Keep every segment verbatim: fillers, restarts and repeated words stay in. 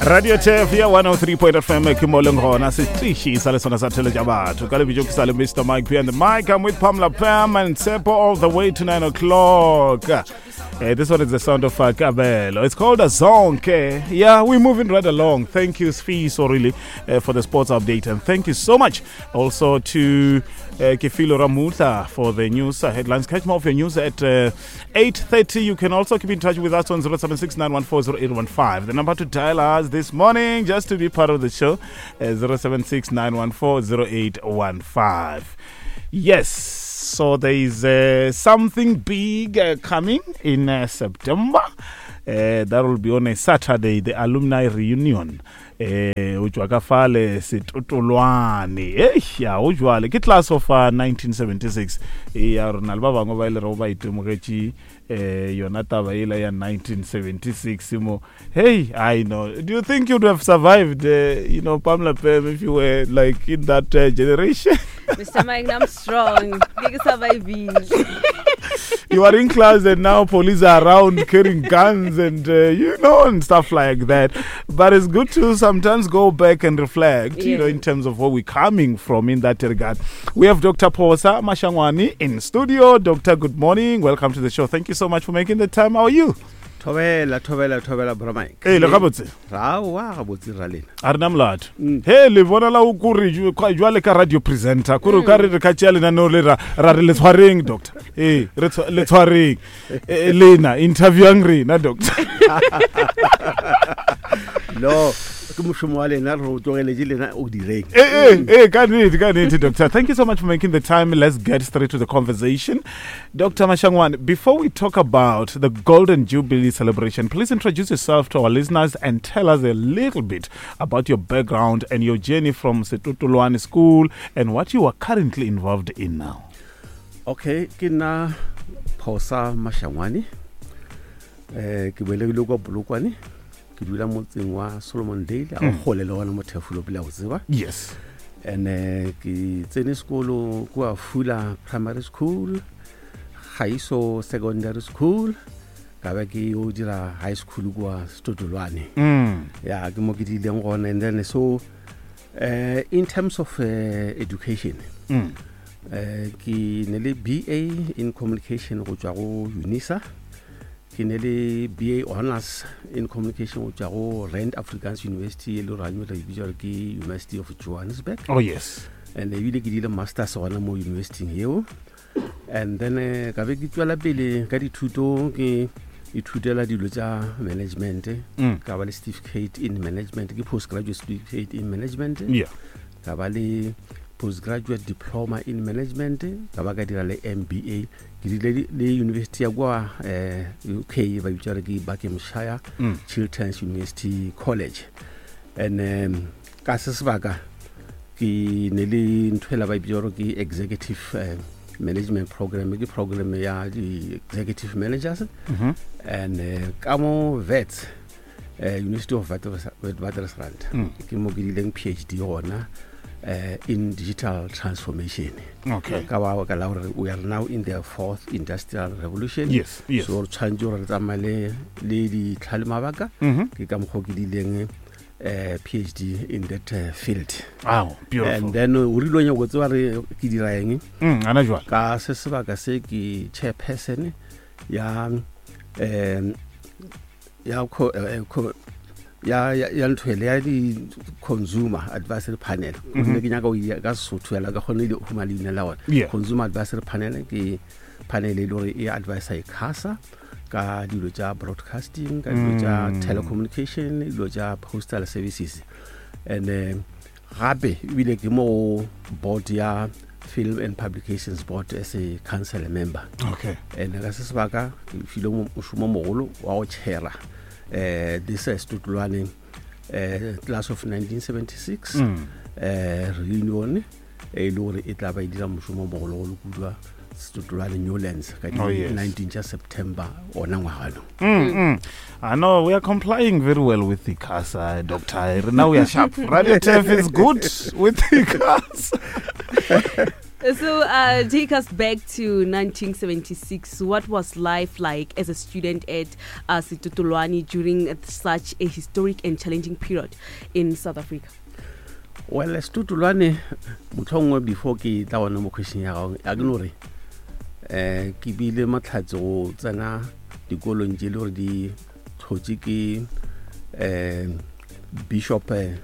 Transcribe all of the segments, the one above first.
Radio Turf ya one oh three point F M ke mo leng gona setiši sa le sona sa theletša batho ka lebitso ke sa le Mister Mike P and the mic. I'm with Pamela Pam and Tshepo all the way to nine o'clock. Uh, this one is the sound of uh, Kabelo. It's called a Zonke. Yeah, we're moving right along. Thank you, Sfi, really, uh, for the sports update. And thank you so much also to uh, Kefilo Ramutla for the news uh, headlines. Catch more of your news at uh, eight thirty. You can also keep in touch with us on zero seven six nine one four zero eight one five. The number to dial us this morning, just to be part of the show, uh, zero seven six nine one four zero eight one five. Yes. So there is uh, something big uh, coming in uh, September. Uh, that will be on a Saturday, the alumni reunion. O tšwa ka fale Setotolwane. Eh, ya o jwale ke class of uh, nineteen seventy-six. E ya rona le ba bangwe ba ile re ba itemogetše eh yona taba ela ya nineteen seventy-six mo. Hey, I know. Do you think you'd have survived, uh, you know, Pamela Pam, if you were like in that uh, generation? Mister Mike, I'm strong. Ke surviving. You are in class and now police are around carrying guns and, uh, you know, and stuff like that. But it's good to sometimes go back and reflect, yeah. you know, in terms of where we're coming from in that regard. We have Doctor Phosa Mashangoane in studio. Doctor, good morning. Welcome to the show. Thank you so much for making the time. How are you? Thobela, thobela, thobela, bro Mike. Hey, le gabotse. Ra wa gabotse ra lena. A rena molato. He le bona la o kore jwale ka radio presenter. Kore o ka re re ka tšea lenaneo le ra ra re le tshwareng, doctor. Eh, re le tshwareng. Lena interviewang rena, doctor. No, ke mošomo wa lena re o tlogeletše lena o direng. Eh eh eh ka nnete, ka nnete, doctor. Thank you so much for making the time. Let's get straight to the conversation. Doctor Mashangoane, before we talk about the Golden Jubilee celebration, please introduce yourself to our listeners and tell us a little bit about your background and your journey from Setotolwane School and what you are currently involved in now. Okay, ke nna Phosa Mashangoane. Eh ke belegile kwa Polokwane. Ke dula motseng wa Solomon Dale, a gole le gona mo Thefolo pele go tseba. Yes. And uh, ke tsene sekolo kwa Fula Primary School, Gaiso Secondary School, ka ba ke yo dira high school kwa Setotolwane. Mm. Yeah, ke mo ke dileng gona. And then so uh, in terms of uh, education, mm. uh, ke ne le B A in communication go tswa go UNISA. Ke ne le B A honors in communication go tswa go Rand Afrikaans University e le gore re bitsa gore ke University of Johannesburg. Oh yes. And ebile ke dile masters gona mo university eo. And then uh, ka be ke tswela pele ka dithuto, ke ithutela dilo tša management. Mm. Ka ba le certificate in management, ke postgraduate certificate in management. Yeah. Ka ba le postgraduate diploma in management, ka ba ka dira le M B A. Ke dile le university ya kwa eh, U K ba bitsa ke Buckinghamshire mm. Chilterns University College. And um, ka se sebaka ke ne le ntho ela ba bitsa gore ke executive uh, management program, ke program ya di executive managers. Mm -hmm. And uh, ka mo Wits, uh, University of Witwatersrand, mm. ke mo ke dileng P H D gona uh, in digital transformation. Okay. Ka ba ka la gore we are now in the fourth industrial revolution. Yes, yes. So re tshwanetse gore re tsamaye le le ditlhale mabaka. Ke ka mokgwa ke dileng uh, P H D in that uh, field. Wow, beautiful. And then o rile o nyaka go tseba re ke dira eng? Mm, ana jwale. Ka se sebaka se ke chairperson ya um ya co, eh, co ya ya ntho ele ya di consumer advisory panel. Mm-hmm. Ke nyaka go ya ka Sesotho yala ka kgone le huma leina la ona. Yeah. Consumer advisory panel ke panel e le gore e advisa ICASA ka dilo tša broadcasting, ka dilo tša Mm. telecommunication, dilo tša postal services. And uh, gape ebile ke mo board ya Film and Publications Board as a council member. Okay. And ka se sebaka ke filwe mošomo mogolo wa go chaira eh this is Setotolwane eh class of nineteen seventy-six mm. eh reunion e le gore e tla ba e dira mošomo mogolo go kudwa Setotolwane Newlands ka Oh, yes. nineteen tša September ona ngwaga. Mm, mm. I know we are complying very well with the ICASA, Doctor. Now we are sharp. Radio Turf is good with the ICASA. So uh, take us back to nineteen seventy-six. What was life like as a student at uh, Setotolwane during such a historic and challenging period in South Africa? Well, Setotolwane, motlhongwe before ke tla gona mo question ya gago, a ke no re, eh, ke bile matlhatse go tsena dikolong tše le gore di tlhotše ke, eh, Bishop, eh,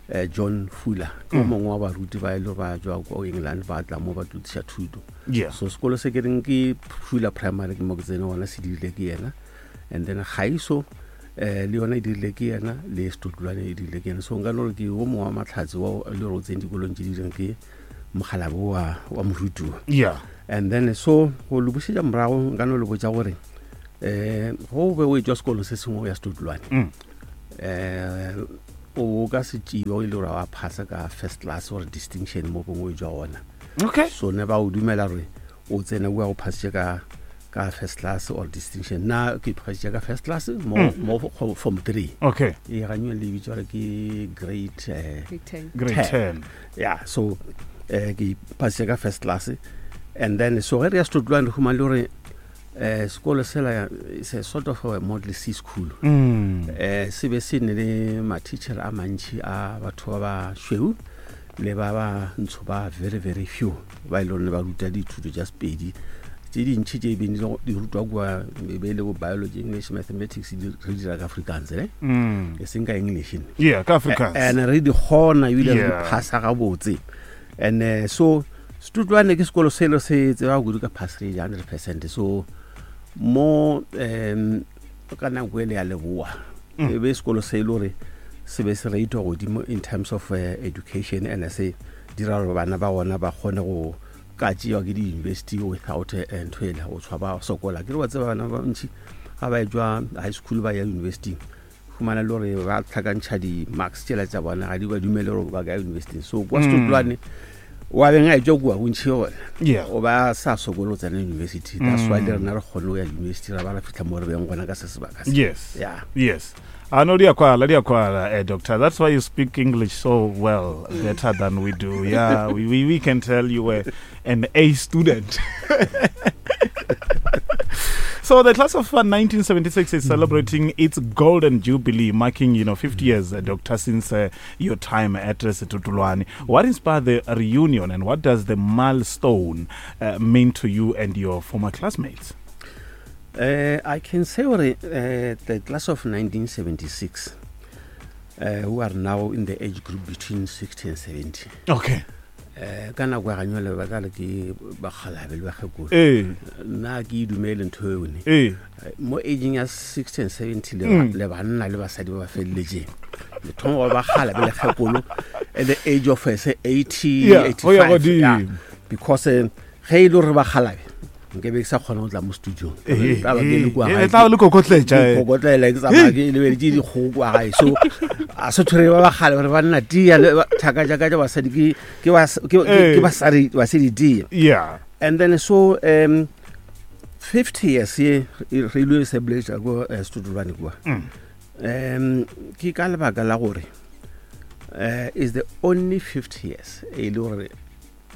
eh, John Fuller, ke Mm. mongwe wa baruti ba e le ba tswa ko England ba tla mo ba tlo tliša thuto. Yeah. So sekolo se ke reng ke Fuller Primary ke mo ke tsene gona, se dirile ke yena. And then Gaiso, eh, le yona e dirile ke yena, le Setotolwane e dirile ke yena. So nka no re ke o mongwe wa matlhatse wa le gore o tsene dikolong tse di direng ke mokgalabo wa, wa moruti. Yeah. And then so go le bušetša morago nka no le botša gore, eh, go be o etšwa sekolong se sengwe o ya Setotolwane. Mm. Eh, o ka se tšeiwa o ile gore wa phasa ka first class or distinction mo gongwe o etšwa gona. Okay. So ne ba o dumela gore o tsene o ya go phasitše ka, ka first class or distinction. Nna ke phasitše ka first class mo, Mm. mo go form three. Okay. E ganywe le bitswa gore ke grade, eh, Grade ten. Grade ten. ten. Yeah, so, eh, ke phasitše ka first class. And then so ge re ya Setotolwane re humane le gore, eh, sekolo sela is a sort of a model C school. Mm. Eh, se be se ne le ma-teacher a mantši a batho ba ba šweu le ba ba ntsho ba very very few ba e le gore ne ba ruta dithuto tša Sepedi. Tše dintši tše beng di le go-, di rutwa kua, e be e le bo biology, English, mathematics, di re dira ka Afrikaans, ne? Mm. E seng ka English, ne? Yeah, ka Afrikaans. Eh, and re di kgona ebile re di Yeah. phasa gabotse. And, eh, so Setotolwane ke sekolo selo se tseba kudu ka pass rate ya hundred percent. So mo, um, ka nako ele ya Leboa, Mm. e be sekolo se e le gore se be se ratewa godimo in terms of, eh, education, and se dira gore bana ba gona ba kgone go ka tšewa ke di-university without, eh, ntho ele go tshwa ba sokola. Ke re wa tseba bana ba bantši ga ba etšwa high school ba ya university, fumana le gore ba tlhakantšha di-marks tšela tša bona, ga di ba dumele gore ba ka ya university. So kwa Mm. Setotolwane wa beng a etšwa kua bontši gona, Yeah. o ba sa sokole go tsena university. That's why Mm. le rena re kgone go ya university, ra ba ra fitlha mo re beng gona ka se sebaka se. Yes. Yeah. Yes. I know diakwala, diakwala, eh, doctor. That's why you speak English so well, better than we do. Yeah, we, we, we can tell you were an A student. So the class of, uh, nineteen seventy-six is celebrating its golden jubilee, marking, you know, fifty years, uh, doctor, since, uh, your time at, uh, Setotolwane. What inspired the reunion, and what does the milestone, uh, mean to you and your former classmates? Uh, I can say uh, the class of nineteen seventy-six, uh, who are now in the age group between sixty and seventy. Okay. Eh, ka nako ya ganyole ba tla re ke bakgalabe le bakgekolo. Eh. Nna ke e dumele ntho eo ne. Eh. Mo aging ya sixty and seventy le Mm. ba-, le banna le basadi ba ba felletseng. Le thoma go ba bakgalabe le kgekolo at the age of, eh, say, eighty, Yeah, go ya eighty-five. godimo. Yeah. Because, eh, ge e le gore bakgalabe, nke be ke sa kgona go tla mo studio. Eh, Tla ba ke le kua eh, gae. eh, tla ba le kokotletša, eh. Ke kokotlela, ke tsamaya ke lebeletše dikgogo kua gae. So, a se tshwere ba bakgale gore ba nna tia le ba-, thaka tša ka tša basadi ke, ke bas-, ke, ke, Eh. ke basadi, basadi tia. Yeah. And then so, um, fifty years ye re ile celebrate ko, eh, Setotolwane kua. Mm. Um, ke ka lebaka la gore, eh, is the only fifty years e le gore,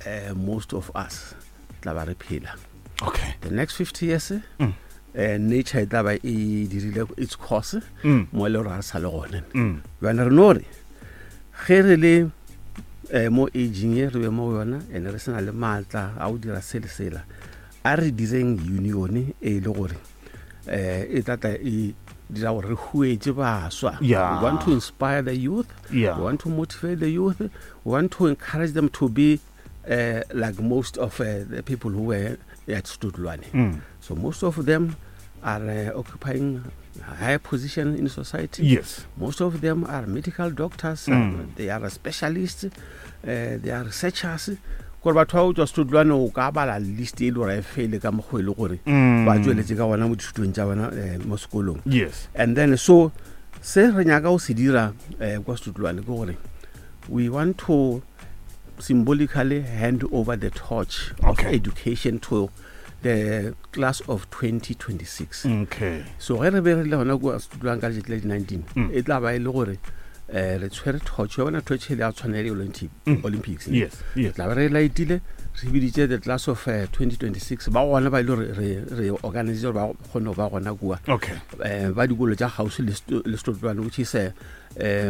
eh, most of us tla ba re phela. Okay. The next fifty years, Mm. eh, nature e tla ba e dirile its course, Mm. mo e le gore ga re sa le gone. Mm. Bjale re no re, ge re le, eh, mo aging e re be mo go yona, and re sena le maatla a go dira se le sela, a re direng union e le gore, eh, e tla tla e dira gore re huetše baswa. Yeah. We want to inspire the youth. Yeah. We want to motivate the youth. We want to encourage them to be, uh, like most of, uh, the people who were at Setotolwane. Mm. So most of them are, uh, occupying a higher position in society. Yes. Most of them are medical doctors. Mm. Uh, they are specialists. Uh, they are researchers. Gore batho ba o tswa Setotolwane o ka bala list e le gore e fele ka mokgwa e le gore Mm. ba tsweletse ka gona mo dithutong tša bona, eh, mo sekolong. Yes. And then so se re nyaka go se dira, eh, kwa Setotolwane ke gore we want to symbolically hand over the torch of Okay. education to the class of twenty twenty-six. Okay. So ge re be re le gona kua Setotolwane ka letšatši la di nineteen, Mm. e tla ba e le gore, um re tshwere torch ya bona torch e le ya tshwana le Olympic, olympics ne? Yes, yes. Tla be re lightile, re biditše the class of uh, twenty twenty-six ba gona, ba ile gore re re organise gore ba kgone go ba gona kua. Okay. um ba dikolo tša kgauswi le Sto- le Setotolwane, which is uh,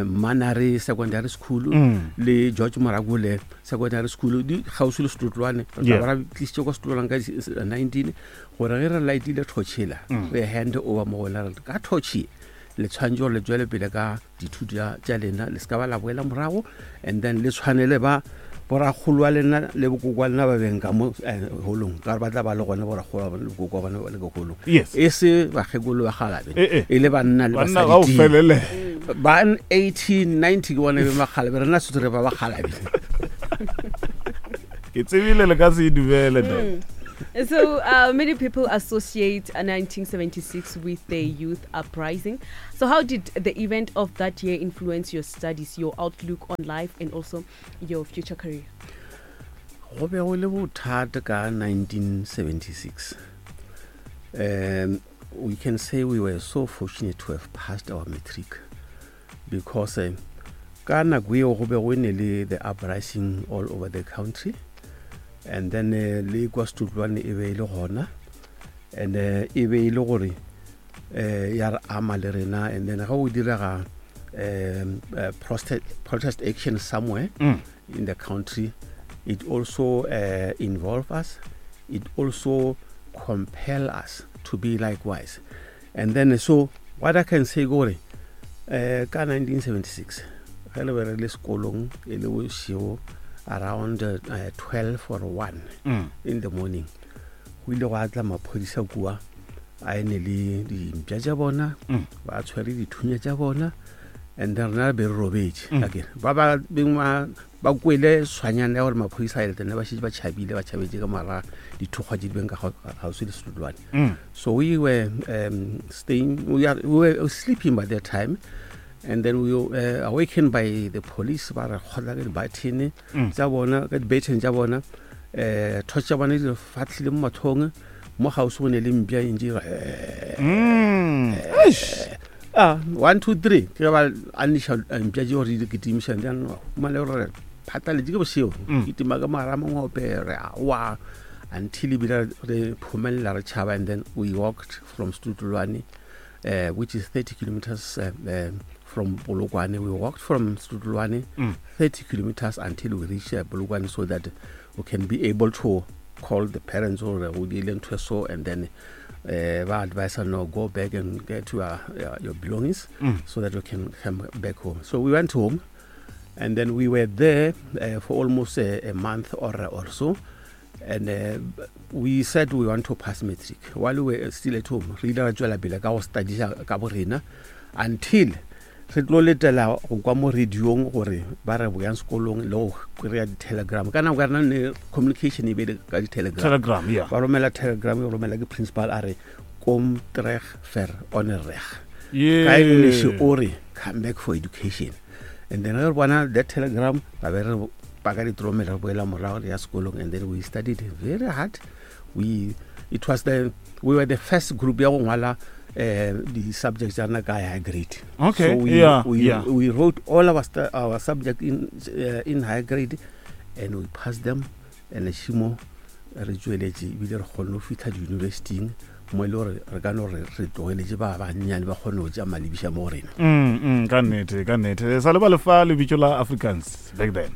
Manare Secondary School Mm. le George Morakole Secondary School, di kgauswi le Setotolwane. Re tla Yeah. ba ra tlisitše kwa Setotolwane ka di- s- nineteen gore ge re lightile torchela, Mm. re hand over mo gona, re ka torch e, le tshwanetse gore le tswele pele ka dithuto tša- tša lena, le se ka ba la boela morago, and then le tshwanele ba borakgolo wa lena le bokoko wa lena ba beng ka mo eh, holong, ka gore ba tla ba le gona borakgolo wa bona le bokoko wa bona ba le ka holong, Yes. e se bakgekolo ba galabe, Eh, eh. e le banna le Banna ga o basadi felele. Ba eighteen ninety ke bona be makgalabe, rena sotho re ba bakgalabe. Ke tsebile le ka se e dumele, doc. So uh, many people associate uh, nineteen seventy-six with the youth uprising. So how did the event of that year influence your studies, your outlook on life, and also your future career? Go be go le bothata ka nineteen seventy-six. um we can say we were so fortunate to have passed our matric because um, ka nako eo go be go ne le the uprising all over the country, and then uh, le kwa Setotolwane e be e le gona, and uh, e be e le gore um ya re ama le rena. And then ga o direga um, uh, protest, protest action somewhere Mm. in the country, it also uh, involve us, it also compel us to be likewise. And then so what I can say gore uh, ka nineteen seventy-six ge le be re le sekolong e le bošego around uh, twelve or one Mm. in the morning, go ile go atla maphodisa kua a ene le dimpša tša bona, Mm. ba tshwere dithunya tša bona, and then rena re be re robetše. Mm. Akere ba ba beng ba ba kwele tshwanyana ya gore maphodisa a etene, ba šetše ba tšhabile, ba tšhabetše ka mara dithokgwa tše di beng ka gau- kgauswi le Setotolwane. Mm. So we were um, staying, we, are, we were sleeping by that time, and then we were uh, awakened by the police, ba re kgotla ka di-baton Mm. tša bona, ka di-baton tša bona, um torch tša bona di re fatlhile mo mathong, mo gausi go ne le mpša e ntše e re, Mm. Eish. Ah, one two three, ke ge ba aniša mpša tše gore di kitimišang, humane gore re phatlaletše ke bošego, Mm. kitima ka mogara mangope, re awa until ebile re phomelela, re tšhaba. And then we walked from Setotolwane, uh, which is thirty kilometers uh, um, from Polokwane. We walked from Setotolwane Mm. thirty kilometers until we reached uh, Polokwane, so that we can be able to call the parents or go diile ntho e so, and then uh, ba advise no, go back and get your, your, your belongings Mm. so that we can come back home. So we went home, and then we were there uh, for almost a, a month or, or so, and uh, we said we want to pass matric while we were still at home. Re ile ra tswela pele ka go studiša ka bo rena until re tlo letela go kwa mo radiong gore ba re boyang sekolong le go kry-a di-telegram. Ka nako ya rena ne communication e be le ka di-telegram. Telegram, yeah. Ba romela telegram, e romela ke principal, a re kom terug vir onderrig, Yeah. ka English o re come back for education. And then re bona that telegram, ba be re paka ditromela, re boela morago, re ya sekolong. And then we studied very hard. We it was the we were the first group ya go ngwala uh, di-subjects tša rena ka high grade. Okay, So we, yeah, we, yeah. we wrote all our, stu- our subject in, uh, in high grade and we passed them, and šimo re tsweletše ebile re kgonne go fitlha di-universityng mo e le gore re ka no re re tlogeletše ba bannyane ba kgone go tša malebiša mo go rena. Mm, mm, ka nnete, ka nnete. Sa le ba lefa lebitso la Africans back then?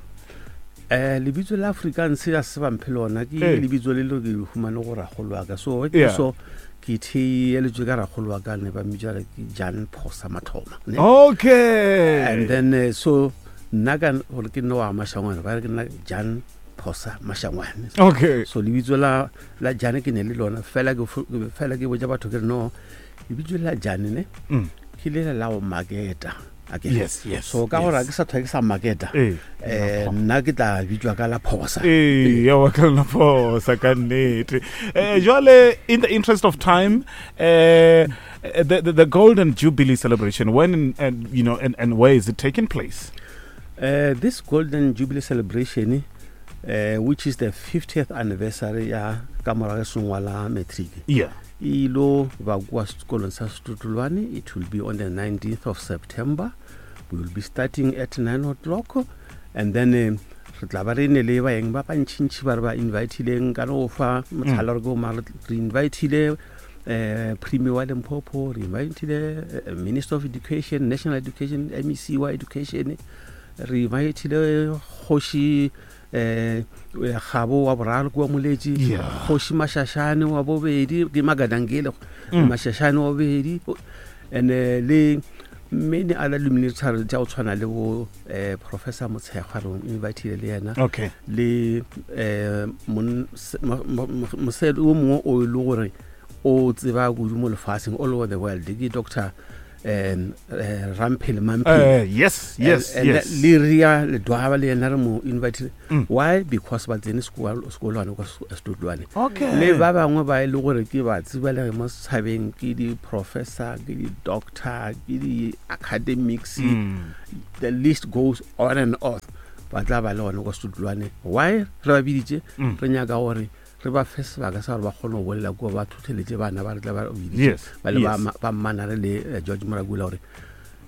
um lebitso la Afrikaans a se bamphe lona, ke Ee. lebitso le le ke le humane go ragolo wa ka, so Yeah. so ke theeleditswe ka ragolo wa ka, ne ba mmitsa re ke Jan Phosa Mathoma, ne? Okay. And then uh, so nna ka gore ke nne wa Mashangwane, ba re ke nna Jan Phosa Mashangwane. Okay. So lebitso la la Jane ke ne le lona fela, ke fo- fela ke botsa batho ke re no, lebitso la Jane ne Mm. ke lela la go maketa akere. Yes, yes. So ka gore yes. ga ke sa tlhoe ke sa maketa, Eh. um nna ke tla bitswa ka la Phosa. Ee, ya wa ka la phosa ka nnete. Eh, jwale, in the interest of time, eh, the, the, the Golden Jubilee celebration, when and, and you know and, and where is it taking place? Uh, this Golden Jubilee celebration, uh, which is the fiftieth anniversary ya ka morago sengwa la matric, Yeah. e ilo ba kua sekolong sa Setotolwane. It will be on the nineteenth of September We will be starting at nine o'clock and then eh, re tla ba re ne le baeng ba bantšhintšhi ba re ba invitileng ka no fa motlhala re ko mare re invitile eh Premier wa Limpopo, re invitile eh, Minister of Education, National Education, M E C wa Education, re invitile kgoši eh Gabo wa boraro kwa Moletši, Yeah. kgoši Mashashane wa bobedi, ke Magadangele Mm. Mashashane wa bobedi, and eh, le many other luminaries tša go tshwana le bo eh, Professor Motshekgwa, re invitile le yena, Okay. le eh, mon- se- mo- mo- mo- mosadi o mongwe o e le gore o tseba kudu mo lefatsheng, all over the world, ke Doctor um Ramphele Mamphele. Uh, yes, yes, And- and yes. Le Ria Ledwaba le yena re mo invitile. Mm. Why? Because ba tsene sekolo sekolwane kwa Setodulwane. Okay. Le ba bangwe ba e le gore ke ba tsebalege mo setšhabeng, ke di-professor, ke di-doctor, ke di-academics, Mm. the list goes on and on, ba tla ba le gone kwa Setodulwane. Why re ba biditše? Mm. Re nyaka gore re ba fe sebaka sa gore ba kgone go bolela kua, ba thotheletse bana ba re tla ba biditše, Yes. ba le ba yes. ma- ba mmanare le eh, George Morakula gore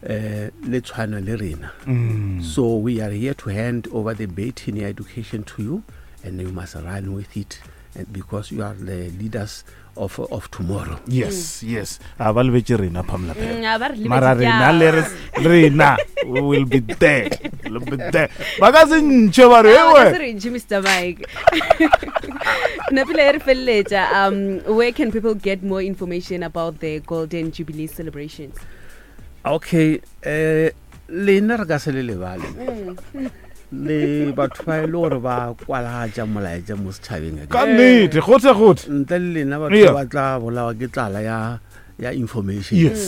um le tshwana le rena. Mm. So we are here to hand over the baton ya education to you, and you must run with it, and because you are the leaders of, of tomorrow. Yes, yes. A ba lebetse rena, Pamela Pam. Mm, a ba re lebetse Mara rena ke le a- re rena we will be there. We'll be there. Ba ka se ntšhe ba re Ah, ba ka se ewe. re ntšhe, Mister Mike. Napile e re feleletša, um where can people get more information about the Golden Jubilee celebrations? Okay, eh lena re ka se le lebale le batho ba e le gore ba kwalagatša molaetša mo setšhabeng. Ka nnete, gote gote. Ntle le lena batho Yeah. ba tla bolawa ke tlala ya ya information. Yes.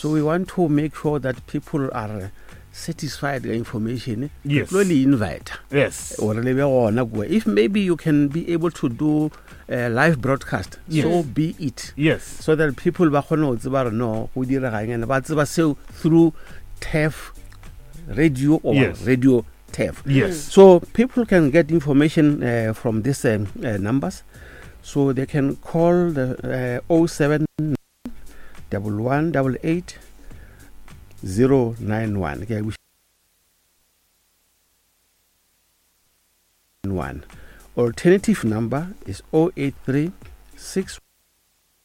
So we want to make sure that people are satisfied ka information. Yes. Tlo le invite Yes. gore le be gona kua. If maybe you can be able to do a live broadcast, Yes. so be it, Yes. so that people ba kgone go tseba gore no go diregang, and ba tseba seo through T E F radio or Yes. radio T E F. Yes. So people can get information uh, from these um, uh, numbers. So they can call the uh, oh seven double one double eight zero nine one. Okay, we one. Alternative number is oh eight three six